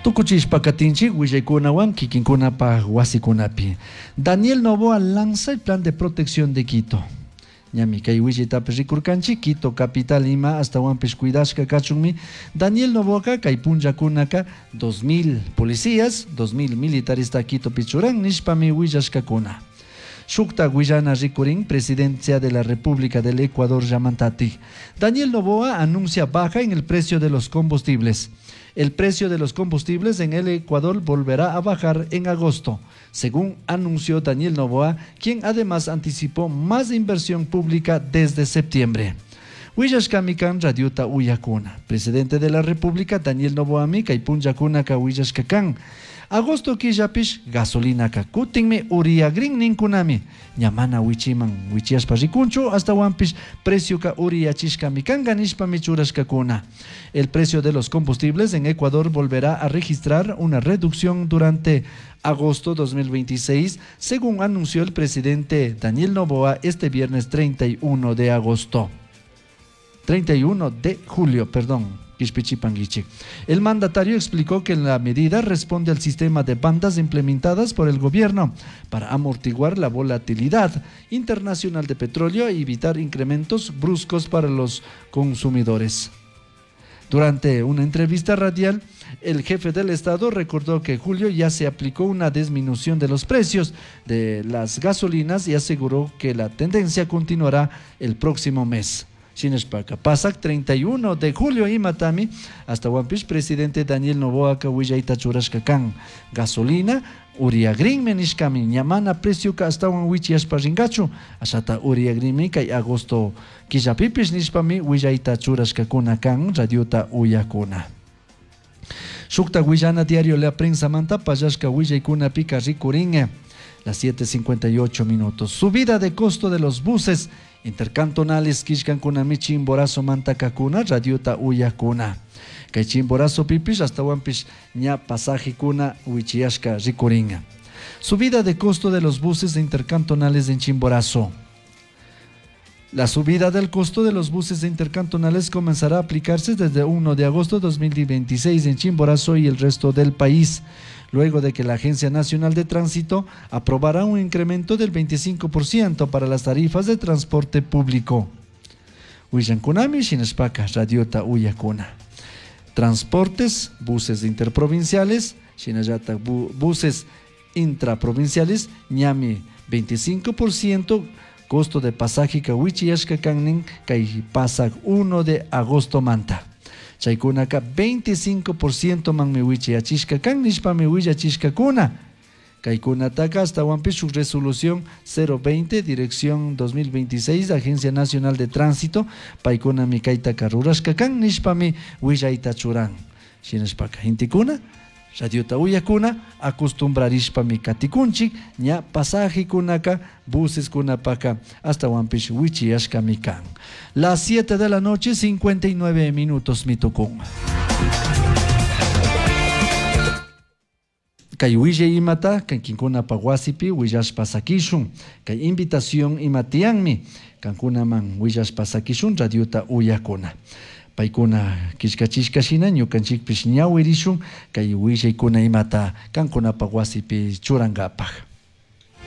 Tukuchishpa katinchik willaykunawan kikinkunapaj wasikunapi. Daniel Noboa lanza el plan de protección de Quito. Ñami kay willaytapish rikurkanchik Quito capital ima ashtawanpish cuidashka kachunmi Daniel Noboaka kay punllakunaka 2000 policías, 2000 militaresta Quitopi churan nishpami willashkakuna. Shukta willana rikurin Presidencia de la República del Ecuador llamantatik. Daniel Noboa anuncia baja en el precio de los combustibles. El precio de los combustibles en el Ecuador volverá a bajar en agosto, según anunció Daniel Noboa, quien además anticipó más inversión pública desde septiembre. Willashkami kan radiota uyakuna. Presidente de la República, Daniel Noboami, kay punllakunaka willashka kan. Agosto killapish gasolinaka kutinmi uriyagrin ninkunami. Ña mana wichiman wichiyashpa rikunchu, ashtawanpish precioka uriyachishkami kanka nishpami churashkakuna. El precio de los combustibles en Ecuador volverá a registrar una reducción durante agosto 2026, según anunció el presidente Daniel Noboa este viernes 31 de agosto. 31 de julio, perdón. Quishpichipanguichik. El mandatario explicó que la medida responde al sistema de bandas implementadas por el gobierno para amortiguar la volatilidad internacional de petróleo y evitar incrementos bruscos para los consumidores. Durante una entrevista radial, el jefe del Estado recordó que en julio ya se aplicó una disminución de los precios de las gasolinas y aseguró que la tendencia continuará el próximo mes. Shinashpaka pasak 31 de julio imatami ashtawanpish presidente Daniel Noboaka willayta churashka kan gasolina uriyagrinmi nishkami ña mana precioka ashtawan wichiyashpa rinkachu ashata uriyagrinmi kay agosto killapipish nishpami willayta churashkakuna kan radiota uyakuna. Shukta willana diario La Prensa manta pallashka willaykunapika rikurin las 7:58 minutos. Subida de costo de los buses intercantonales killkankunami Chimborazo mantakakuna radiota uyakuna. Kay Chimborazo pipish ashtawanpish ña pasajekuna wichiyashka rikuringa. Subida de costo de los buses intercantonales en Chimborazo. La subida del costo de los buses intercantonales comenzará a aplicarse desde 1 de agosto de 2026 en Chimborazo y el resto del país, luego de que la Agencia Nacional de Tránsito aprobará un incremento del 25% para las tarifas de transporte público. Willankunami shinashpaka radiota uyakuna. Transportes, buses interprovinciales, shinallata buses intraprovinciales, ñami 25% costo de pasaje ka wichiyashka kannin kay pasak 1 de agosto manta. Chaykunaka 25% manmi wichiyachishka kan nishpami willachishkakuna. Kaykunataka ashtawanpish shuk resolución 020 dirección 2026 Agencia Nacional de Tránsito paykunami kaytaka rurashka kan nishpami willayta churan. Shinashpaka gentekuna radiota uyakuna acostumbrarishpami katikunchik ña pasajekunaka buseskunapaka ashtawanpish wichiyashkami kan. Las 7 de la noche 59 minutos mitukun. Kay willay imata kankinkunapa wasipi willashpa sakishun. Kay invitación imatiyanmi kankunaman willashpa sakishun radiota uyakuna. Paykuna killkachishka shina ñukanchikpish ñawirishun kay willaykuna imata kankunapa wasipi churankapaj.